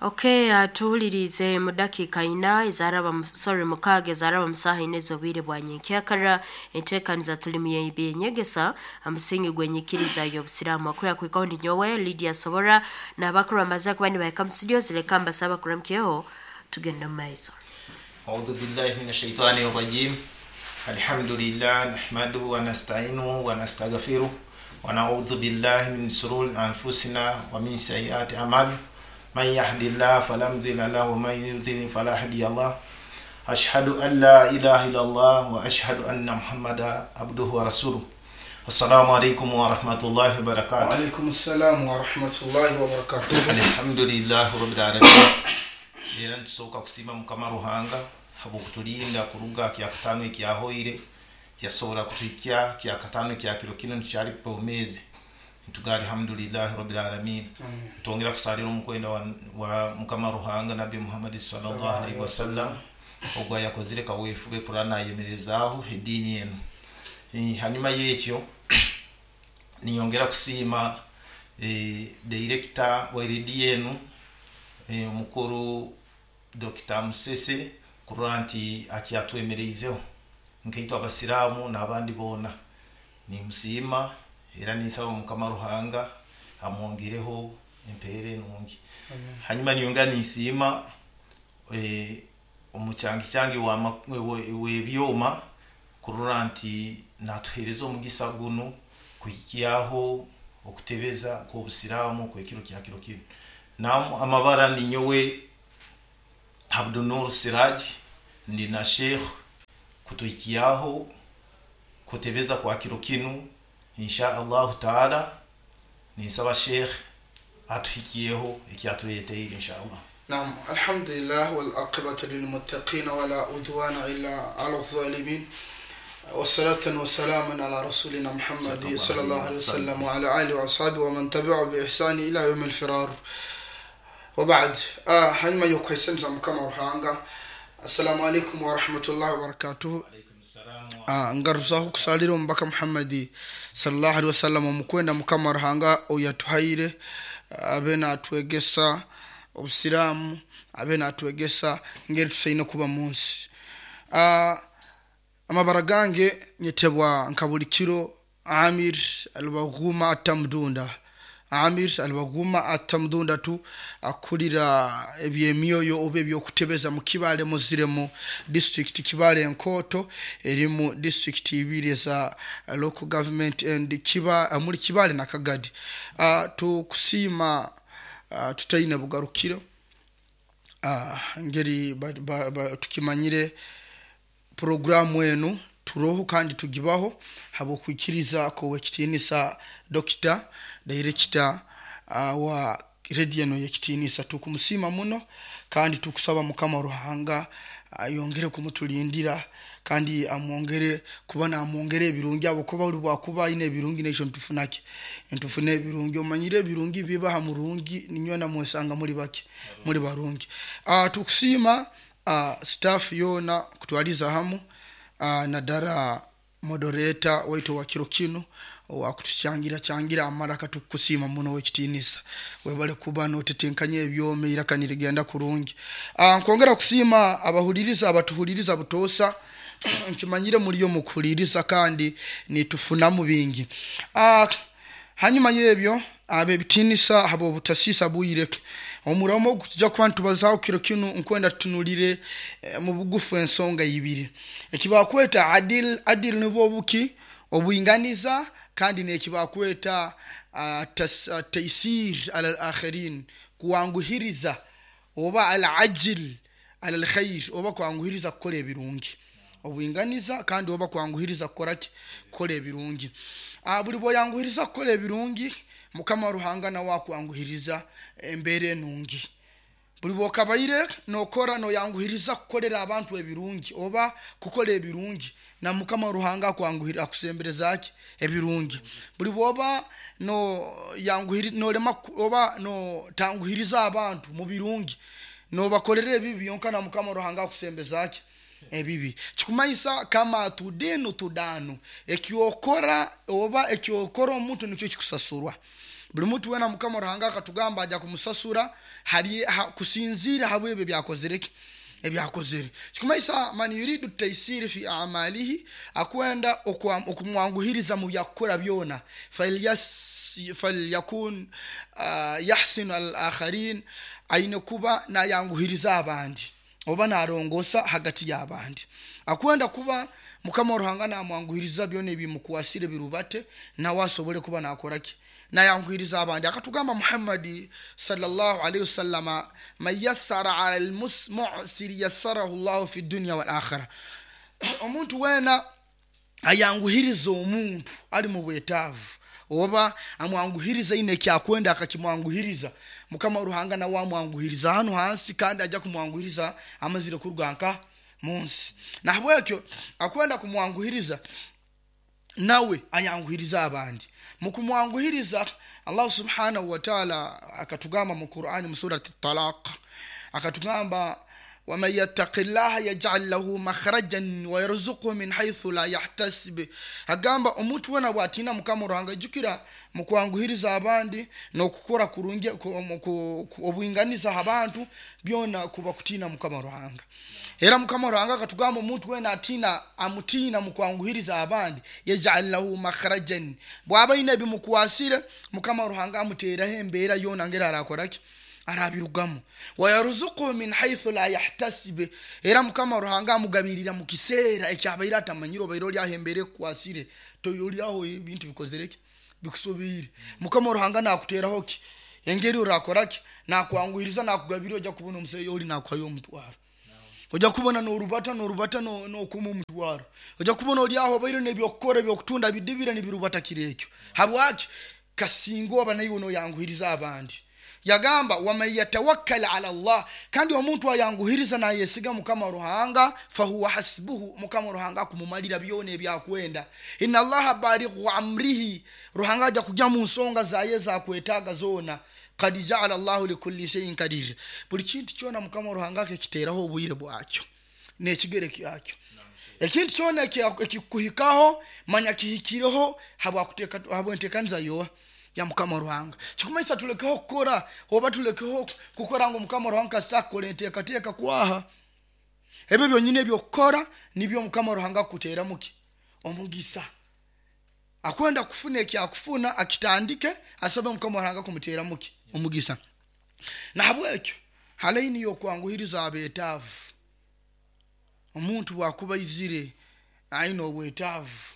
Okay, tuhulirize mu dakiika ina ezaraba sorry mukaaga ezaraba mu saaha ina ez'obwire bwa nyenkyakara. Enteekaniza tulimu y'ebyenyegesa omusingi gw'enyikiriza y'obusiraamu. Akurira kuhikaho ndi nyowe Lydia Sobora n'abakuru bamaze kuba nibahika mu studio zireka mbasaba kuramukyeho tugende mu maiso. أعوذ بالله من الشيطان الرجيم. الحمد لله نحمده ونستعينه ونستغفره ونعوذ بالله من شرور أنفسنا ومن سيئات أعمالنا. من يهد الله فلا مضل له ومن يضلل فلا هادي له. أشهد أن لا إله إلا الله وأشهد أن محمدا عبده ورسوله. السلام عليكم ورحمة الله وبركاته. وعليكم السلام ورحمة الله وبركاته. الحمد لله رب العالمين. Era ntusooka kusiima Mukama Ruhanga habwokutulinda kuruga kyakataano ekyahoire, yasobola kutuhikya kyakataano ekya kiro kinu ntukyali bwomeezi. Ntuga alhamdulillahi rabbil alamin. Ntwongera kusalira omukwenda wa Mukama Ruhanga Nabbi Muhammad sallallahu alaihi wasallam, ogwo yakozire kaweefube kuraba nayemerezaaho ediini enu. Hanyuma y'ekyo ninyongera kusiima director wa rediyo enu, omukuru Dr. Musese, kurora nti akyatwemereizeho nkaitwe abasiraamu n'abandi boona. Nimusiima era ninsaba Mukama Ruhanga amwongereho empeera enungi. Hanyuma niyongera ninsiima omukyangikyangi w'ebyoma kurora nti natuheereza omugisa gunu kuhikyaho okutebeza kw'obusiraamu kw'ekiro kya kiro kinu. Nam amabara ninyowe Abdunur Siraj, ndi na Sheikh kutuhikyaho kutebeza kwa kiro kinu insha Allahu taala. Ninsaba Sheikh atuhikiyeho ekyatuleeteire insha Allah. نعم، الحمد لله والعاقبة للمتقين ولا عدوان إلا على الظالمين، والصلاة والسلام على رسولنا محمد صلى الله عليه وسلم وعلى آله وأصحابه ومن تبعه بإحسان إلى يوم الفرار، وبعد. Hanyuma y'okwesenza Mukama Ruhanga, assalamu alaikum warahmatullahi wabarakatuhu. Ngaruzaho kusalira omubaka Muhammadi sallallahu alaihi wasallam, omukwenda Mukama Ruhanga oyatuhaire abe natwegesa obusiraamu, abe natwegesa ngeri tusaine kuba mu nsi. Amabara gange nyetebwa nka buli kiro Amir Albaghuma Atamdunda. Amir Albaghuma Atamdunda tu akulira ebyemyoyo oba ebyokutebeza mu Kibaale Muziremu district, Kibaale Enkoto erimu district ibiri eza local government and kiba muri Kibaale na Kagadi. Tukusiima tutaine bugarukiro. Ngeri tukimanyire programu enu turoho kandi tugibaho habwokwikiriza kowekitiinisa dokita director wa rediyo eno yekitiinisa. Tukumusiima muno kandi tukusaba Mukama Ruhanga ayongere kumutulindira kandi amwongere kuba namwongere ebirungi, abo kuba buli bwakuba ayine ebirungi nekyo ntufunaki ntufune ebirungi. Omanyire ebirungi biba ha murungi ninywena mwesanga muri bake muri barungi. Tukusiima staff yona kutwaliza hamu, nadara moderator waitu wa kiro kinu wakutuchangira changira amaraka. Tukusiima muno wekitiinisa, webale kuba notetenkanya ebyome iraka nirigenda kurungi. Nkwongera kusiima abahuliriza abatuhuliriza butoosa. Nkimanyire muriyo mukuhuliriza kandi nitufunamu bingi. Hanyuma y'ebyo, ab'ebitiinisa habw'obutasisa bwire, omuramo tujja kuba nitubazaho kiro kinu nkwenda tutunulire mu bugufu ensonga ibiri ekibakweta adil. Adil nibwo obuki obwinganiza, kandi nekibakweta taisir ala alakhirin, kuwanguhiriza oba al ajil ala alkhair, oba kwanguhiriza kukola ebirungi. Obwinganiza kandi oba kwanguhiriza kukora ki? Kukola ebirungi. Buli bwoyanguhiriza kukola ebirungi, Mukama Ruhanga nawe akwanguhiriza embeera enungi. Buli bwokabaire nokora noyanguhiriza kukolera abantu ebirungi oba kukola ebirungi, na Mukama Ruhanga akwanguhira akusembereza ki? Ebirungi. Buli bwoba no yanguhiri nolema oba no tanguhiriza abantu mu birungi, nobakolera ebibi byonka, na Mukama Ruhanga akusembeza ki? Ebibi. Kikumanyisa kama tudinu tudanu, ekyokora oba ekyokora omuntu nikyo kikusasurwa. Buli muntu wena Mukama Ruhanga akatugamba aja kumusasura hali kusinzira habwebyo byakozereki ebyakozere. Kikumaisa man yuridu taysiri fi amalihi, akwenda okumwanguhiriza mu byakukora byona, falyakun yahsinu al akharin, aine kuba nayanguhiriza abandi oba narongosa hagati y'abandi. Akwenda kuba Mukama Ruhanga namwanguhiriza byona ebimukwasire birubate, nawe asobole kuba nakoraki, nayanguhiriza abandi. Akatugamba Muhammadi sallallahu alaihi wasallama, man yassara ala almu'siri yassarahu llahu fi dunya wal akhira. Omuntu wena ayanguhiriza omuntu ali mu bwetaavu oba amwanguhiriza ine ekyakwenda akakimwanguhiriza, Mukama Ruhanga nawe amwanguhiriza hano hansi, kandi ajja kumwanguhiriza amazire kuruga nka munsi. Nahabwekyo akwenda kumwanguhiriza nawe ayanguhiriza abandi. Mukumwanguhiriza Allah subhanahu wa ta'ala akatugamba mu Qur'ani mu surati Talaq, akatugamba waman yattaqi llaha yaj'al lahu makhrajan wa yarzuqhu min haythu la yahtasib. Agamba omuntu wena bwatina Mukama Ruhanga, ijukira mukwanguhiriza abandi n'okukora kurungi obwinganiza abantu byona kuba kutina Mukama Ruhanga. Era Mukama Ruhanga akatugamba omuntu wena atina amutina mukwanguhiriza abandi, yaj'al lahu makhrajan, bwaba ine ebimukwasire Mukama Ruhanga amuteraho embeera yona ngera arakoraki arabirugamu. Wayaruzuku min haythu la yahtasib, era Mukama Ruhanga amugabirira mu kiseera ekyabaire atamanyire, obaire oli aho embeera ekukwasire toyoli aho ebintu bikozereki bikusobiire. Mukama Ruhanga nakuteraho ki engeri orakoraki, nakwanguhiriza nakugabirira, ojja kubona omuseeyi oli nakuhayo omutwaro, ojja kubona norubata norubata nokuma omutwaro, ojja kubona oli aho obaire nebyokukora ebyokutunda bidibire nibirubata kiro ekyo. Habwaki? Kasinga oba naiwe noyanguhiriza abandi. Yagamba waman yatawakkal ala Allah, kandi omuntu ayanguhiriza nayesiga Mukama Ruhanga, fahuwa hasbuhu, Mukama Ruhanga akumumalira byona ebyakwenda. Inna Allaha balighu amrihi, Ruhanga aja kujya mu nsonga zaye zakwetaaga zona. Kad jaala Allahu likulli shay'in kadir, buli kintu kyona Mukama Ruhanga akakiteraho obwire bwakyo n'ekigere kyakyo. Ekintu kyona ekikuhikaho manya kihikireho habwentekaniza yoa ya Mukama Ruhanga. Kikumaisa tulekeho kukora oba tulekeho kukora ngu Mukama Ruhanga kasita akukora enteekateeka kwaha. Ebyo byonyini ebyokukora nibyo Mukama Ruhanga akuteramu ki omugisa. Akwenda kufuna ekyakufuna akitandike asabe Mukama Ruhanga kumuteramu ki omugisa. Nahabwekyo halaini y'okwanguhiriza abeetaavu. Omuntu bwakuba aizire aine obwetaavu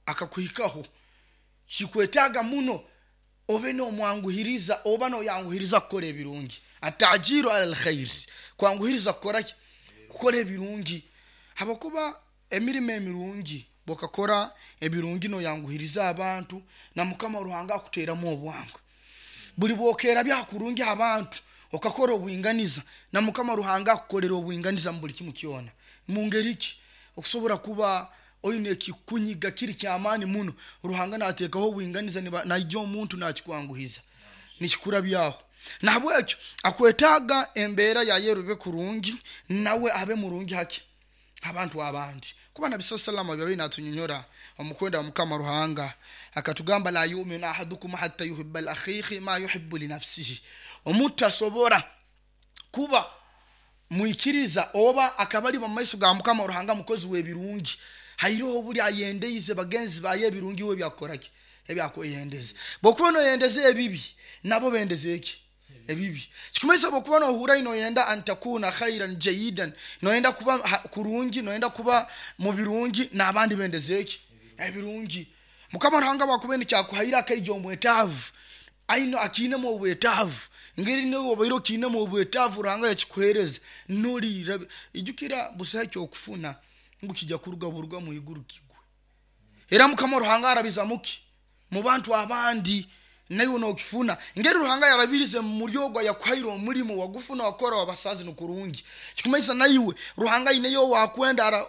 akakuhikaho, kikwetaaga muno obe nomwanguhiriza oba noyanguhiriza kukora ebirungi. Atajiru ala alkhair, kwanguhiriza kukora ki? Kukora ebirungi. Habwokuba emirimo emirungi bwokakora ebirungi noyanguhiriza abantu na Mukama Ruhanga akuteramu obwangu. Buli bwokera byakurungi abantu okakora obwinganiza na Mukama Ruhanga akukolera obwinganiza mu buli kimu kyona. Mu ngeri ki? Okusobora kuba oine ekikunyiga kiri kyamaani muno, Ruhanga nateekaho obwinganiza naija omuntu nakikwanguhiza nikikurabyaho. Nahabwekyo akwetaaga embeera yaye erube kurungi nawe abe murungi haki abantu abandi. Kuba Nabi sallallahu alaihi wasallam byabaire natunyonyora omukwenda wa Mukama Ruhanga akatugamba la yuminu ahadukum hatta yuhibba li akhihi ma yuhibbu li nafsihi. Omuntu tasobora kuba mwikiriza oba akaba ali mu maiso ga Mukama Ruhanga mukozi w'ebirungi hairoho obuli ayendeize bagenzi baye ebirungi we byakukoraki ebyakweyendeza. Bwokuba noyendeza ebibi nabo bendeza eki ebibi. Kikumanyisa bwokuba nohura noyenda antakuna khairan jayidan, noyenda kuba kurungi, noyenda kuba mu birungi n'abandi bendeza eki ebirungi. Mukama Ruhanga bwakuba nikyakuhaire akaija omwetaavu aino akiinemu obwetaavu, ngeri niwe obaire okiinemu obwetaavu Ruhanga yakikuhereza nolira. Ijukira busaho ekyokufuna ngu kijja kuruga buruga mu iguru kigwe. Era Mukama Ruhanga arabiza muki mu bantu abandi naiwe nokifuna. Ngeri Ruhanga yarabirize muri ogwo yakuhaire omulimo wagufuna wakora wabasazi nukurungi, kikumanyisa naiwe Ruhanga aineyo wakwenda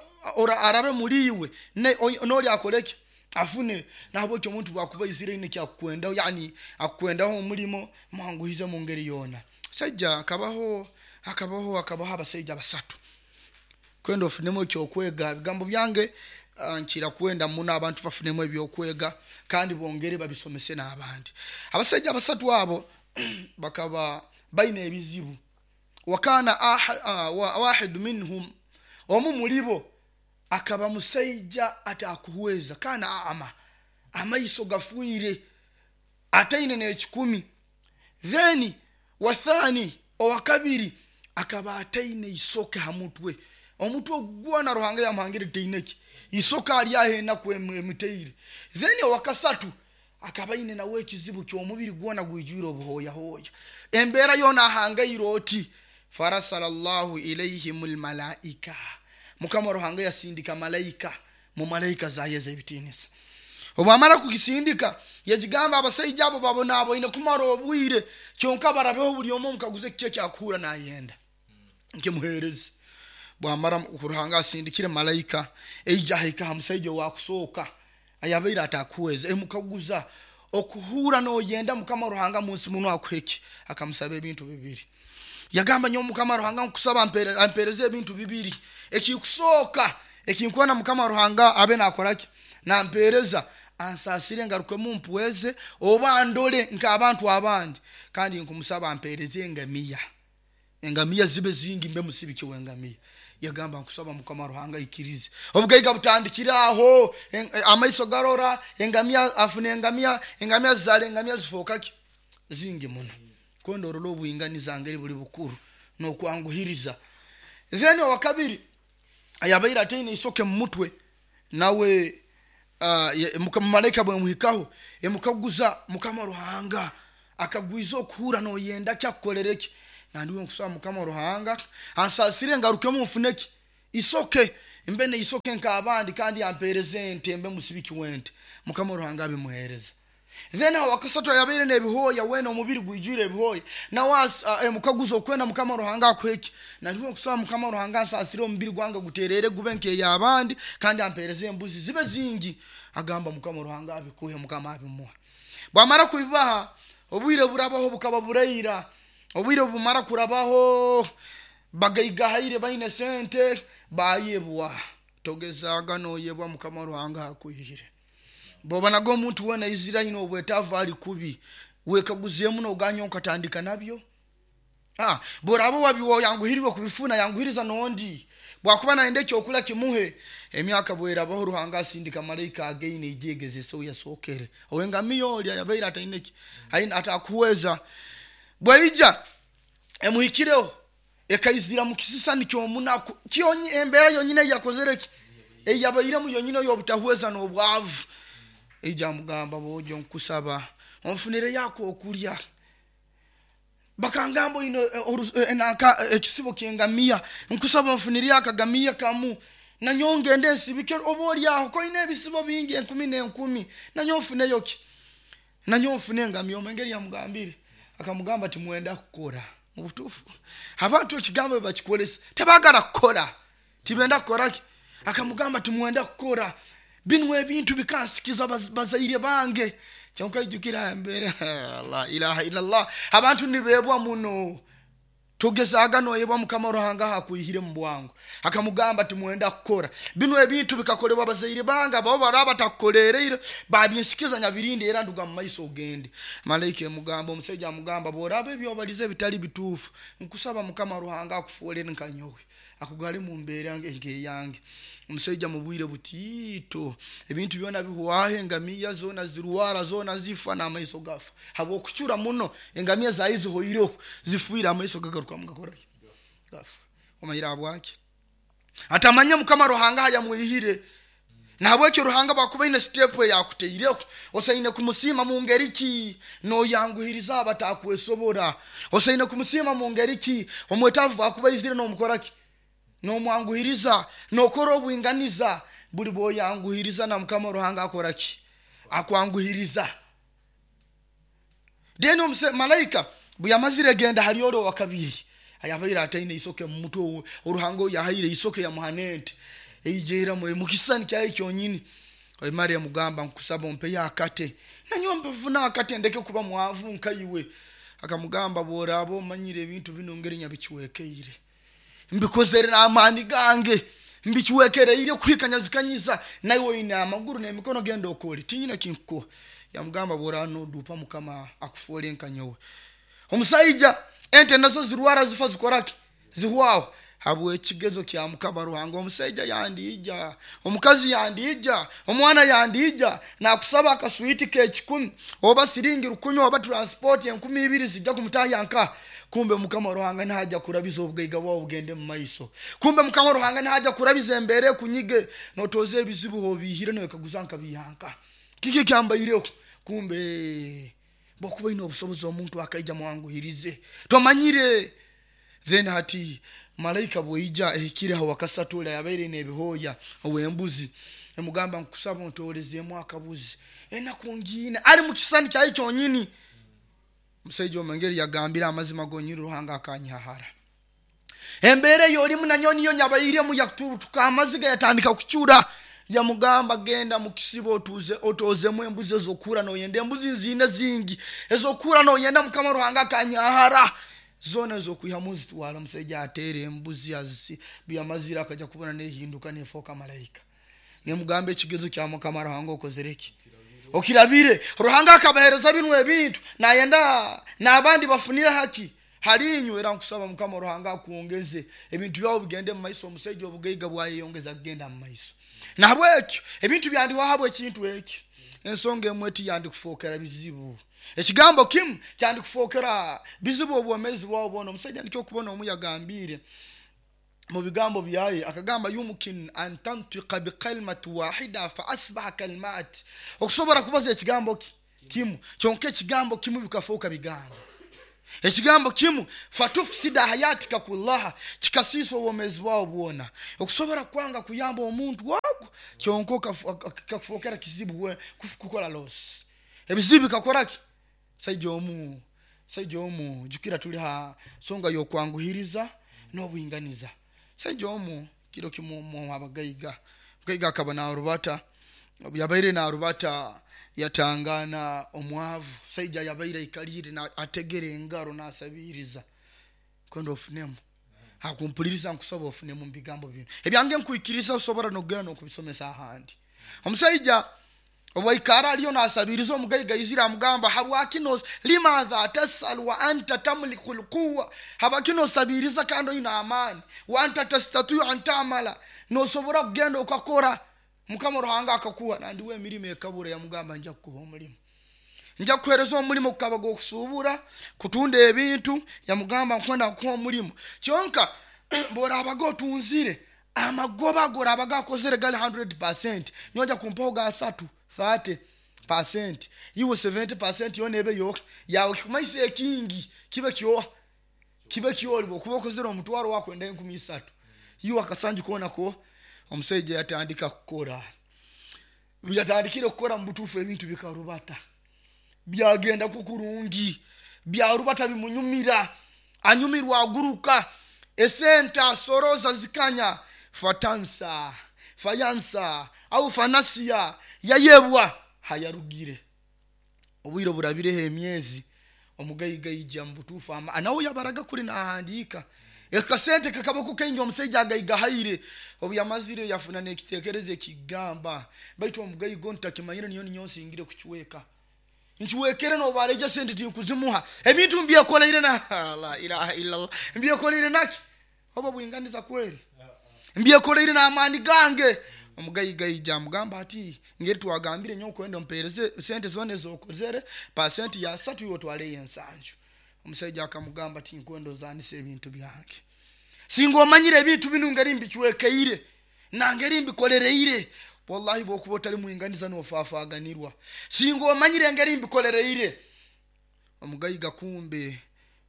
arabe muri iwe noli akoreki afune. Nahabwekyo omuntu bwakuba aizire aine ekyakukwendaho, yani akukwendaho omulimo, mwanguhize mu ngeri yoona. Saija akabaho akabaho akabaho abasaija basatu kwenda ofunemu ekyokwega. Ebigambo byange Nkira kwenda muno abantu bafunemu ebyokwega kandi bongere babisomese n'abandi. Abasajja basatu abo bakaba baine ebizibu. Wakana wahidu minhum, omu mulibo akaba musaija atakuhweza, kana ama, amaiso gafwire, ataine n'ekikumi. Then wathani, owakabiri akaba ataine isoke ha mutwe, omutwe gwona Ruhanga yamuhangire taineki isoke, ali aho enaku emutaire. Then owakasatu akaba aine nawe ekizibu ky'omubiri gwona gwijwire obuhooyahooya, embeera yoona ahangaire oti. Farasala llahu ilaihim lmalaika, Mukama Ruhanga yasindika malaika mu malaika zaye ez'ebitiinisa. Obwamara kugisindika yagigamba abasaija abo babonaboine kumara obwire, kyonka barabeho buli omu omukaguze kiki ekyakuhura nayenda nkimuhereze. Bwamara Ruhanga asindikire malaika, eija ahika ha musaija owakusooka ayabaire atakuhweza, emukaguza okuhura noyenda Mukama Ruhanga munsi muno akuheki? Akamusaba ebintu bibiri. Yagamba, nyowe Mukama Ruhanga nkusaba ampereze ebintu bibiri. Ekikusooka ekinkwenda Mukama Ruhanga abe nakoraki, nampereza, ansasire ngarukemu mpweze oba ndole nk'abantu abandi, kandi nkumusaba ampereze engamiya, engamiya zibe zingi, mbe musibiki w'engamiya. Yagamba, nkusaba Mukama Ruhanga aikirize. Obugaiga butandikire aho, amaiso garora, engamiya afuna engamiya, engamiya zizaara engamiya zifookaki zingi muno. Kwenda orole obwinganiza ngeri buli bukuru n'okwanguhiriza. Then owakabiri ayabaire ataine isoke mu mutwe nawe, malaika bwemuhikaho emukaguza, Mukama Ruhanga akagwiza okuhura noyenda ki akukorere ki? Nandiwe nkusaba Mukama Ruhanga ansasire ngarukemu nfuneki isoke, mbe neisoke nk'abandi, kandi ampereze ente mbe musibiki w'ente. Mukama Ruhanga abimuhereza. Then awakasatu ayabaire n'ebihooya wena omubiri gwijwire ebihooya nawe emukaguza, okwenda Mukama Ruhanga akuheki? Nandiwe nkusaba Mukama Ruhanga ansasire omubiri gwange guterere gube nk'ey'abandi, kandi ampereze embuzi zibe zingi. Agamba, Mukama Ruhanga abikuhe. Mukama abimuha. Bwamara kubibaha, obwire burabaho, bukaba buraira. Obwire bumara kurabaho, bagaigahaire baine sente, bayebwa. Togezaaga noyebwa Mukama Ruhanga akwihire. Bwobonaga omuntu wena aizire aine obwetaavu ali kubi, wekaguzeemu noganya nkatandika nabyo. Bworaba wayanguhirirwe kubifuna, yanguhiriza nondi. Bwakuba nayenda ekyokulya, kimuhe. Emyaka bwerabaho, Ruhanga asindika malaika againe ijegezese yasookere owengamiya oli ayabaire ataineki atakuhweza. Bwaija emuhikireho, ekaizira mu kisisani ky'omunaku kyonyi, embeera yonyine eyakozere ki, eyabairemu yonyine ey'obutahweza n'obwavu. Eija amugamba, bojo nkusaba onfunire yako okulya, bakangamba oine ekisibo ky'engamiya, nkusaba onfunire akagamiya kamu nanyowe ngende nsibike, oba oli aho koine ebisibo bingi enkumi n'enkumi, nanyowe nfuneyo ki, nanyowe nfune engamiya. Omengeri yamugambire, akamugamba, timwenda kukora. Mu butuufu abantu ekigambo bakikolesa, tebagala kukora, tibenda kukoraki. Akamugamba, timwenda kukora, binu ebintu bikansikiza bazaire bange. Kyonka ijukira embere, la ilaha illallah, abantu nibebwa muno. Togezaaga noyebwa Mukama Ruhanga hakwihire mu bwangu. Akamugamba, timwenda kukora, binu ebintu bikakolebwa bazaire bange, abo baraba batakukolereire babinsikiza, nyabirinde, era nduga mu maiso ogende. Malaika emugamba, omusaija amugamba, bworaba ebyobalize bitali bituufu, nkusaba Mukama Ruhanga akufoolere nka nyowe, akugale mu mbeera nkeyange. Omusaija mu bwire butiito ebintu byona bihwaho, engamiya zona zirwara, zona zifa, n'amaiso gafa habwokucura muno. Engamiya zayi zihoireho zifiire, amaiso gagarukamu gakoraki, gafa. Omanyire habwaki? Atamanye Mukama Ruhanga hayamwihire. Nahabwekyo Ruhanga bwakuba aine step eyakuteireho, osaine kumusiima mu ngeri ki? Noyanguhiriza abatakwesobora. Osaine kumusiima mu ngeri ki? Omwetaavu bwakuba aizire nomukoraki, nomwanguhiriza, nokora obwinganiza. Buli bwoyanguhiriza, na Mukama Ruhanga akoraki, akwanguhiriza. Then malaika bwe yamazire genda hali oli owakabiri ayabaire ataine isoke mu mutwe, oruhanga oyo yahaire isoke yamuha nente, eijeeramu mukisani kyaye kyonyini. Emara emugamba, nkusaba ompeyo akate nanyowe mpefuna akate ndeke kuba mwavu nkaiwe. Akamugamba, bworaba omanyire ebintu bino ngeri nyabichwekeire, mbikozere n'amaani gange. Mbikiwekereire kuhikanyazikanyiza naiwe oine amaguru n'emikono, genda okole, tinyina kinkukuha. Yamugamba, bwora nodupa mukama akufuole nka nyowe. Omusaija ente nazo zirwara, zifa, zikoraki, zihwaho habwekigezo kya mukama Ruhanga. Omusaija yandiija, omukazi yandiija, omwana yandiija nakusaba akaswiti k'ekikumi oba siringi 1000 oba transport 2000 zijja kumutahya nka. Kumbe mukama Ruhanga nahaja kurabiza obugaiga bwawe bugende mu maiso. Kumbe mukama Ruhanga nahaja kurabiza embere kunyige notoza ebizibu obihire noyekaguza nkabihanka kiki kyambaireho. Kumbe bwokuba ine obusobozi omuntu akaija mwanguhirize tomanyire. Then hati malaika bweija ehikire aho wakasatu ora yabaire n'ebihooya ow'embuzi, emugamba, nkusaba ontolezeemu akabuzi, enaku ngiine. Ali mu kisani kyayi kyonyini. Omusaija omengeri yagambire, amazima gonyini Ruhanga akanyahara embeera eyolimu nanyo niyo nyabairemu. Yatutuka amaziga, yatandika kucura. Yamugamba, genda mukisibo otuze otozemu embuzi ezokura noyenda, embuzi nziine zingi ezokura noyenda, mukama Ruhanga akanyahara zona ezokwihamu zitwara. Omusaija ateera embuzi byamazire akaja kubona nehinduka nefoka malaika, nemugamba, ekigezo kya mukama Ruhanga okozereki, okirabire. Ruhanga akabahereza binu ebintu nayenda n'abandi bafunire haki halinywe. Era nkusaba mukama Ruhanga akwongeze ebintu byawe bigende mu maiso. Omusaija obugaiga bwayeyongeza kugenda mu maiso. Nahabwekyo ebintu byandiwaho habwekintu ekyo, ensonga emwe tiyandikufokera bizibu, ekigambo kimu kyandikufokera bizibu obwomezi bwawe bwona. Omusaija nikyo okubona omu yagambire mu bigambo byaye, akagamba, yumkin an tantika bikalimati wahida fa asbaha kalimat, okusobora kubaza ekigambo kimu kyonka, ekigambo kimu bikafuuka bigambo, ekigambo kimu fatufsida hayatika kullaha, kikasiisa obwomezi bwawe bwona. Okusobora kwanga kuyamba omuntu ogwo kyonka kikakufokera kizibu kukola loss, ebizibu bikakoraki. Saija omu, jukira tuli ha songa y'okwanguhiriza n'obwinganiza. Saija omu kiro kimu abagaiga, mugaiga akaba narubata, yabaire narubata yatangana omwavu. Saija yabaire aikalire ategere engaro nasabiriza, kwenda ofunemu akumpuliriza, nkusaba ofunemu mu bigambo bino ebyange, nkwikiriza osobora nokugenda nokubisomesa ahandi. Omusaija obwaikara aliyo nasabiriza, omugaiga izira amugamba, habwaki limadha tasal wa anta tamliku lquwa, habwaki nosabiriza kandi oine amaani, wa anta tastatiyu an tamala, nosobora kugenda okakora mukama Ruhanga akakuha nandiwe emirimo ekabura. Yamugamba, nja kukuha omulimu, nja kukuhereza omulimu gukaba gwokusubura kutunda ebintu. Yamugamba, nkwenda nkuha omulimu, kyonka bworabaga otunzire amagoba gorabaga akozere gali 100%, nyoja kumpaho ga 3 30%, iwe 70% yona ebe yoke yawe, kikumaisa ekingi kibe kyoha, kibe kyoli. Bwokuba okozere omutwaro wakwenda 3000, iwe akasanju kona ko. Omusaija yatandika kukora, yatandikire kukora mu butuufu ebintu bikarubata, byagenda kukurungi, byarubata bimunyumira, anyumirwa, aguruka, esente asoroza zikanya. Fatansa fayansa au fanasiya, yayebwa hayarugire. Obwire burabireho emyezi, omugaiga ija mu butuufu nawe yabaraga kuli nahandiika ekasente kakabako kaingi. Omusaija agaiga haire, obu yamazire yafuna n'ekitekerezo ekigamba, baitu omugaiga onu takimanyire niyo ninyo nsingire kucweka, nkiwekere nobareja sente tinkuzimuha, ebintu mbyekoleire na la ilaha illallah, mbyekoleire naki oba bwinganiza kweri, mbyekoleire n'amaani gange. Omugaiga ija amugamba ati, ngeri twagambire nyowe kwenda ompereze sente zona ezokozere, pasenti ya 30 iwe otwaleyo 70. Omusaija akamugamba, tinkwenda ozanisa ebintu byange, singa omanyire ebintu binu ngeri mbicwekeire nangeri mbikolereire, wallahi bwokuba otali mwinganiza nofafaganirwa, singa omanyire engeri mbikolereire. Omugaiga kumbe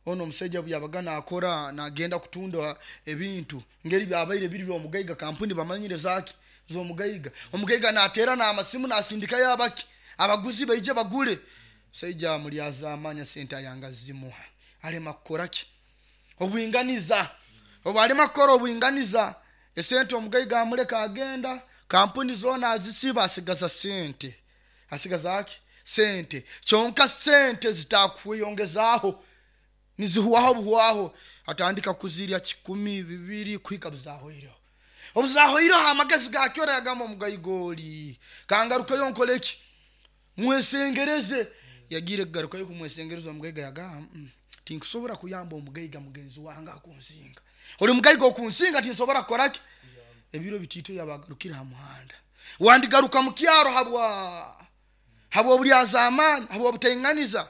ono omusaija byabaga nakora nagenda kutunda ebintu ngeri byabaire biri byomugaiga, kampuni bamanyire zaki zomugaiga. Omugaiga natera n'amasimu nasindikayo abaki abaguzi baije bagule. Musaija mulyazamanya sente ayanga zimuha, alema kukoraki obwinganiza. Obu alema kukora obwinganiza, esente omugaiga amuleka agenda, kampuni zona azisiba, asigaza sente, asigaza ki sente kyonka sente zitakweyongezaho, nizihuwaho buhwaho, atandika kuzirya 1000 2000 kuhika buzahoireho. Obuzahoireho amagezi gakyora yagamba omugaigoli kangarukayo nkoleki mwesengereze. Yagiire kugarukayo kumwesengereza, omugaiga yagamba tinkusobora kuyamba omugaiga mugenzi wange akunsinga, oli mugaiga okunsinga tinsobora kukoraki. Ebiro bitiito yabagarukire ha muhanda, wandigaruka mukyaro habwobulyazaamaani, habwobutainganiza,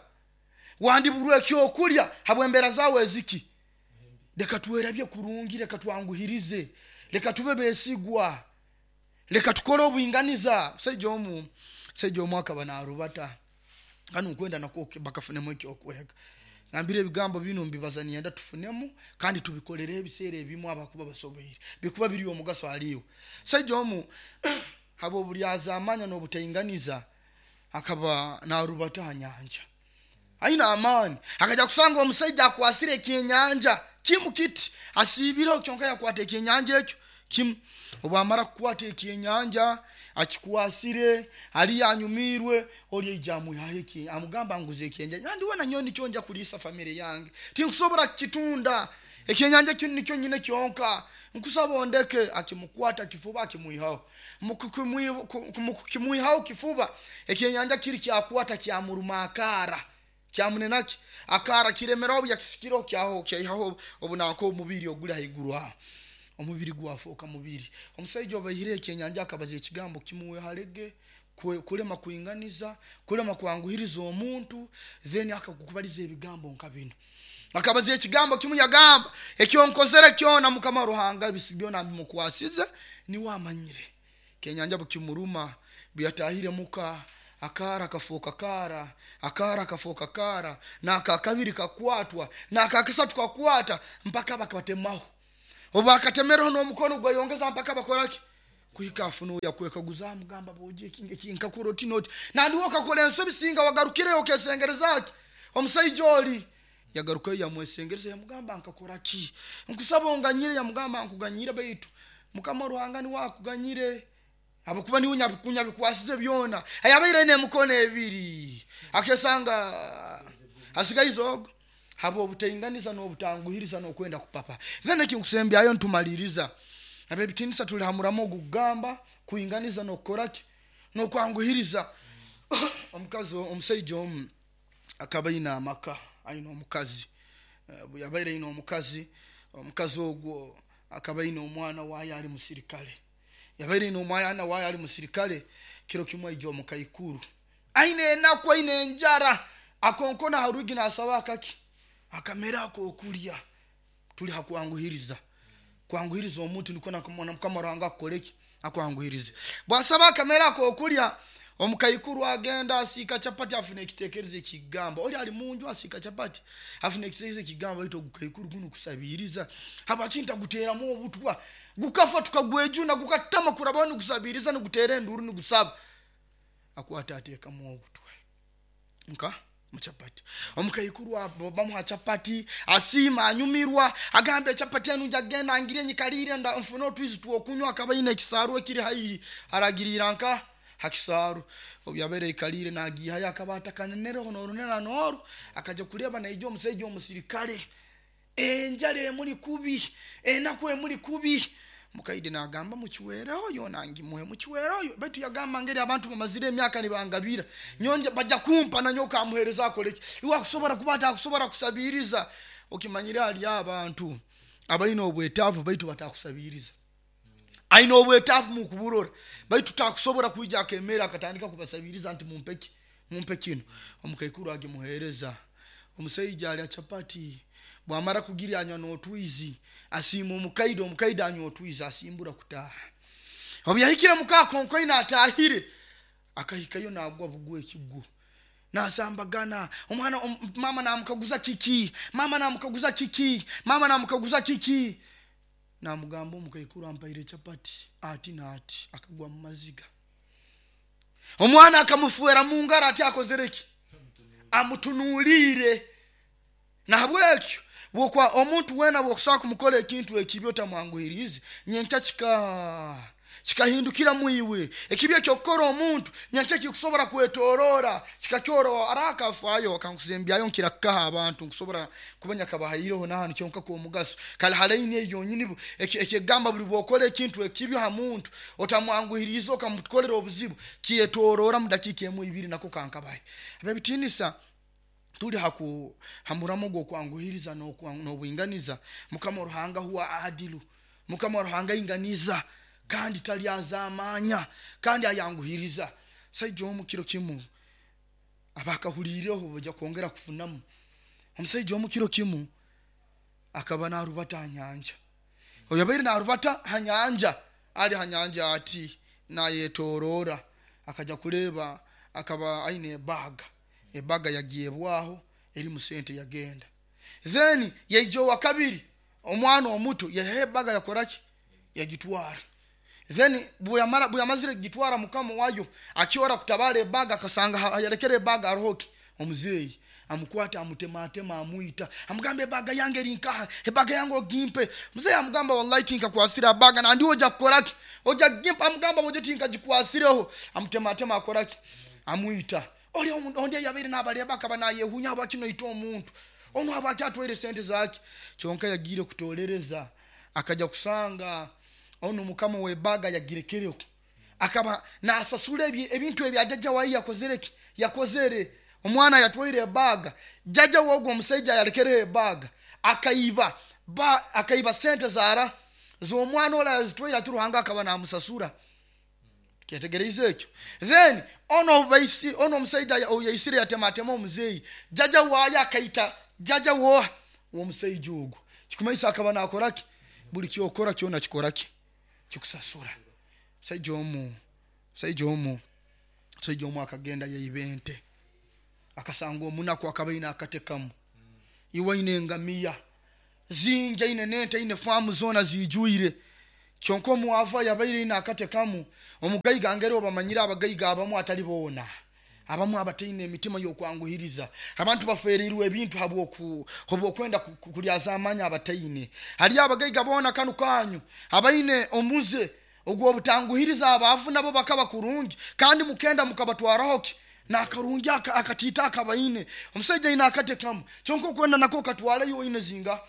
wandiburwa ekyokulya habwembeera zawe eziki. Leka twerabye kurungi, leka twanguhirize, leka tube besigwa, leka tukole obwinganiza. Musaija omu akaba narubata kanu nkwenda nakwo bakafunemu ekyokwega. Ngambire ebigambo bino mbibaza niyenda tufunemu kandi tubikolere ebiseera ebimu abakuba basoboire bikuba biri omugaso haliwe. Musaija omu habwobulyazaamanya n'obutainganiza akaba narubata ha nyanja aina amaani, akaja kusanga omusaija akwasire ekyenyanja kimu kiti asiibireho kyonka yakwata ekyenyanja ekyo kimu. Obwamara kukwata ekyenyanja akikwasire aliyo anyumiirwe, oli aija amwihaho amugamba nguza ekyenyanja, nandi wena nyowe nikyo nja kuliisa famire yange, tinkusobora kukitunda ekyenyanja kinu nikyo nyine kyonka, nkusaba ondeke. Akimukwata kifuba akimwihaho, mukukimwihaho kifuba ekyenyanja kiri kyakwata kyamuruma akaara kyamunenaki akaara kiremeraho, yakisikireho kyaho kyaihaho obunanka omubiri oguli haiguru aho, omubiri gwafoka mubiri. Omusaija obaihire ekyenyanja akabaza ekigambo kimuwehalege kulema kuinganiza, kulema kwanguhiriza omuntu, then akakubaliza ebigambo nka bino. Akabaza ekigambo kimu yagamba ekyonkozere kyona Mukama Ruhanga bisi byona mbimukwasize niwe amanyire. Kenyanja bukimuruma buyatahire muka akaara kafoka kaara, akaara kafoka kaara, n'akakabiri kakwatwa, n'akakasatu kakwata mpaka bakabatemaho. Obu bakatemereho n'omukono gwayongeza mpaka bakoraki kuhika afuna yakwekaguza amugamba boje ekinga nkakora oti noti nandiwe okakora ensobi singa wagarukireyo okesengerezaki. Omusaija oli yagarukayo yamwesengereza yamugamba nkakora ki, nkusaba onganyire. Yamugamba nkuganyire baitu Mukama Ruhanga niwe akuganyire abakuba niwe nyabikwasize byona. Ayabaire aine emikono ebiri akesanga asigaize ogo habwobutainganiza n'obutanguhiriza n'okwenda kupapa. Then ekinkusembyayo ntumaliriza abebitinisa tuli hamuramu ogugamba kuinganiza n'okukoraki n'okwanguhiriza. Omukazi omusaija omu akaba aine amaka aine omukazi, yabaire aine omukazi, omukazi ogwo akaba aine omwana wayo ali musirikale, yabaire aine omwana wayo ali musirikale. Kiro kimu aija omukaikuru aine enaku aine enjara akonkona ha rwigi nasaba akaki akamere akokulya. Tuli hakwanguhiriza, kwanguhiriza omuntu nikwo na Mukama Ruhanga akukoreki akwanguhirize. Bwasaba akamere akokulya omukaikuru agenda asiika chapati afuna ekitekerezo ekigamba oli ali munju asiika chapati afuna ekitekerezo ekigamba baitu ogukaikuru guno kusabiriza habwaki ntaguteramu obutwa gukafa tukagwejuna gukatama kurabaho nigusabiriza nigutera enduru nigusaba. Akwata atekamu obutwa nka muchapati. Omukaikuru bamuha chapati asiima anyumirwa agamba echapati enu njagenda ngire nyikalire nfune otwizi twokunywa. Akaba aine ekisaaru ekiri haihi aragirira nka hakisaaru. Obu yabaire aikalire nagihayo akaba atakanenereho norunena noru akaja kuleba naija omusaija omusirikale enjara emuli kubi enaku emuli kubi. Mukaide nagamba mukiwereho yona ngimuhe mukiwereho, baitu yagamba ngeri abantu bamazire emyaka nibangabira nyonje baja kumpa na nyoka amuhereza akoleki iwe akusobora kuba atakusobora kusabiriza. Okimanyire ali abantu abaine obwetaavu baitu batakusabiriza, aine obwetaavu mukuburora baitu takusobora kwija akemera akatandika kubasabiriza nti mumpeki mumpe kino. Omukaikuru agimuhereza omusaija alya chapati bwamara kugirya anywa n'otwizi asiima omukaide, omukaide anywa otwizi asimbura kutaha. Obu yahikire mukakonkoine atahire akahikayo nagwa bugwa ekigwo nasambagana omwana mama namukaguza kiki, mama namukaguza kiki, mama namukaguza kiki, namugamba omukaikuru ampaire chapati ati naati akagwa mu maziga. Omwana akamufuera mungaro ati akozereki amutunuliire. Nahabwekyo bwokwa omuntu wena bwokusobola kumukora ekintu ekibi otamwanguhirize nyenkya Kikahindukira mwiwe. Ekibi ekyokukora omuntu nyankya kikusobora kwetorora kikakyoro arakafayo akankusembyayo nkira kukaha abantu nkusobora kubanya kabahaireho nahanu kyonka kwomugaso kale halaini eyo nyini ekyegamba buli bwokora ekintu ekibi ha muntu otamwanguhiriza okamukolera obuzibu kyetorora mu dakiika emu ibiri nako kankabahe. Abebitinisa tuli haku hamuramo gwokwanguhiriza n'obwinganiza. Mukama Ruhanga huwa adilu, Mukama Ruhanga inganiza kandi talyazamanya kandi ayanguhiriza. Saija omu kiro kimu abakahulireho baja kwongera kufunamu. Omusaija omu kiro kimu akaba narubata ha nyanja. Oyo yabaire narubata ha nyanja, ali ha nyanja ati nayetorora, akaja kuleba akaba aine ebaga, ebaga yagyebwaho erimu sente yagenda. Then yaija owa kabiri omwana omuto yaha ebaga yakoraki, yagitwara. Then bweyamazire kugitwara mukama wayo akyora kutabara ebaga akasanga yalekere ebaga arohoki omuzeeyi amukwata amutematema amwita, amugamba ebaga yange eri nkaha, ebaga yange ogimpe. Muzeeyi amugamba wallahi tinkakwasire abaga nandi oja kukoraki, oja gimpa. Amugamba bojo tinkagikwasireho, amutematema akoraki, amwita. Oli ondi yabaire nabareba akaba nayehunya habwaki noita omuntu ono, habwaki atwaire sente zake. Kyonka yagiire kutolereza akaja kusanga ono mukama webaga yagirekereho, akaba nasasula ebintu ebya jajja wayi yakozereki, yakozere. Omwana yatwaire ebaga, jajja wogwo omusaija yalekereho ebaga akaiba akaiba sente zara z'omwana ola yazitwaire ati Ruhanga akaba namusasura. Kyetegereize ekyo. Then ono baisi ono omusaija yaisire yatematema omuzeeyi, jajja wayo akaita jajja woha womusaija ogwo. Kikumaisa akaba nakoraki, buli kyokora kyona kikoraki, kikusasura. Musaija omu akagenda yaiba ente, akasanga omunaku akaba aine akatekamu, iwe aine engamiya zingi, aine nente, aine faamu zona zijwire. Kyonka omwava yabaire aine akatekamu. Omugaiga ngeri obamanyire abagaiga abamu atali boona, abamu abataine emitima y'okwanguhiriza. Abantu baferirwe ebintu habwokwenda kulyaza amanya abataine. Haliyo abagaiga boona kanu kanyu abaine omuze ogw'obutanguhiriza abaavu nabo bakaba kurungi kandi mukenda mukabatwaraho ki nakarungi akatiita akabaine. Omusaija aine akatekamu kyonka okwenda nako katwaleyo oine zinga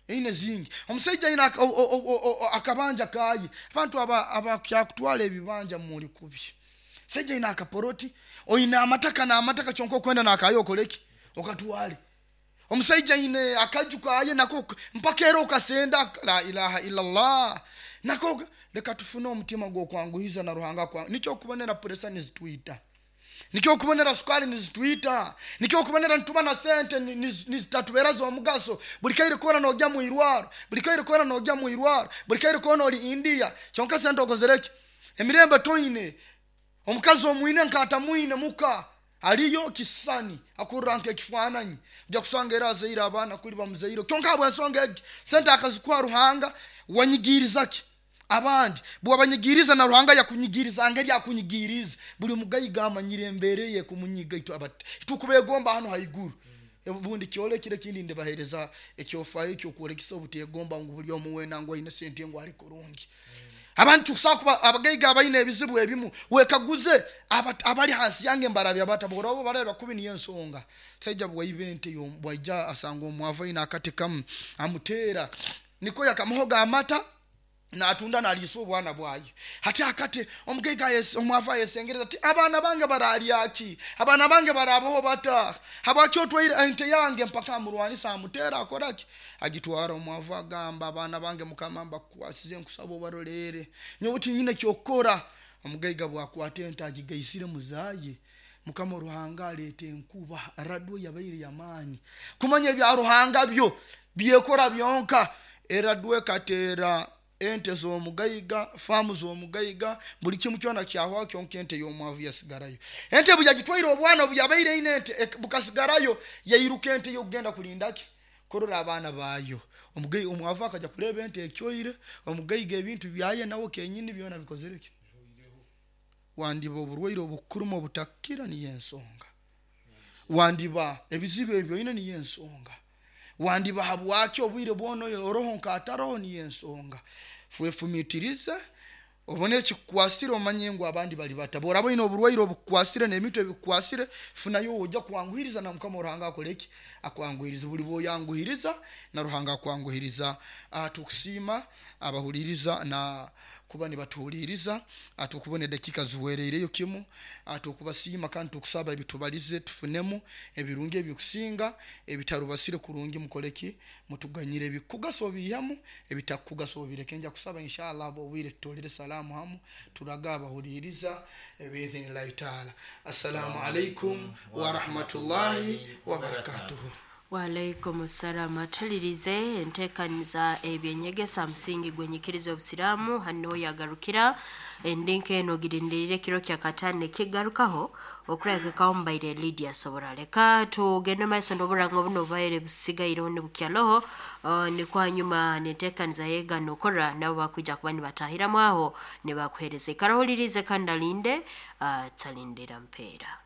eine zingi. Omusaija aine akabanja kaye, abantu abakyakutwala ebibanja muli kubi. Saija aine akaporoti, oine amataka n'amataka kyonka okwenda nakayo okoleki okatwale. Omusaija aine akaju kaye nako mpaka era okasenda, la ilaha illallah. Nako leka tufune omutima gw'okwanguhiza na Ruhanga kwa nikyo okubonera puresa nizitwita, nikyo okubonera sukali nizitwita, nikyo okubonera nituba na sente nizitatubera z'omugaso. Buli kaire kona nojya mu irwaro, buli kaire kona nojya mu irwaro, buli kaire kona oli India kyonka sente okozereki, emirembe toine. Omukazi omwine nkatamwine muka aliyo kisani akurra nk'ekifaananyi, ojja kusanga era azaire abaana kuli bamuzaire kyonka habw'ensonga egi sente akazikuha Ruhanga. Wanyigiriza ki abandi, bwabanyigiriza na Ruhanga yakunyigiriza ngeri akunyigiriza. Buli mugaiga amanyire embere ye kumunyiga itukubegomba hano haiguru. Obundi kyolekire kindi ndibahereza ekyofayo ekyokwolekesa obutegomba ngu buli omu wena ngu aine sente ngu ali kurungi. Abantu kusakuba abagaiga abaine ebizibu ebimu wekaguze abali hansi yange mbarabya bata borobo baraba kubi niyo ensonga. Saija bwaiba ente bwaija asanga omwavu aine akatekamu amutera niko yakamuhoga amata natunda naliisa obwana bwaye. Hati akate omugaiga omwavu ayesengereza ati abaana bange baralyaki, abaana bange barabaho bata, habwaki otwaire ente yange? Mpaka amurwanisa amutera akoraki, agitwara. Omwavu agamba abaana bange mukama mbakukwasize nkusaba obarolere, nyowe tinyine kyokukora. Omugaiga bwakwata ente agigaisire muzaye, Mukama Ruhanga aleeta enkuba radwo yabaire yamaani. Kumanya ebya Ruhanga byo byekora byonka. Eradwo ekateera ente z'omugaiga, faamu z'omugaiga, buli kimu kyona kyahwaho kyonka ente y'omwavu yasigarayo. Ente bwe yagitwaire obwana obu yabaire aine ente bukasigarayo, yairuka ente y'okugenda kulindaki kurora abaana baayo. Omwavu akaja kuleba ente ekyoire, omugaiga ebintu byaye nawe kenyini byona bikozereki. Wandiba oburwaire obukuruma obutakira niyo ensonga, wandiba ebizibu ebyo oine niyo ensonga, wandiba habwaki obwire bwona oroho nkataroho niyo ensonga. Twefumitirize. Obone ekikukwasire, omanye ngu abandi bali bata. Bworaba oine oburwaire obukukwasire n'ebintu ebikukwasire, funayo ojja kwanguhiriza na Mukama Ruhanga akole ki? Akwanguhiriza. Buli bwoyanguhiriza na Ruhanga akwanguhiriza. Tukusiima abahuliriza na kuba nibatuhuliriza, tukubona edakiika ziwereireyo kimu. Tukubasiima kandi tukusaba ebitubalize tufunemu ebirungi ebikusinga, ebitarubasire kurungi mukole ki? Mutuganyire. Ebikugasa obiihemu, ebitakugasa obireke. Nja kusaba inshallah obwire tutolere salaamu hamu, turaga abahuliriza biidhinillahi taala. Assalamu alaikum warahmatullahi wabarakatuhu. Waalaikum salaam. Atulirize enteekaniza ebyenyegesa musingi gwenyikiriza obusiraamu hano yagarukira endinka eno girindirire kiro kya katano ekigarukaho okurabikaho mubaire Lydia Sobora. Leka tugende maiso n'oburango buno bubaire busigaireho nibukyaloho, nikwo hanyuma nenteekaniza yegano okora nabo bakwija kuba nibatahiramu aho nibakuhereza. Ikara ohulirize kandi alinde, talindira mpeera.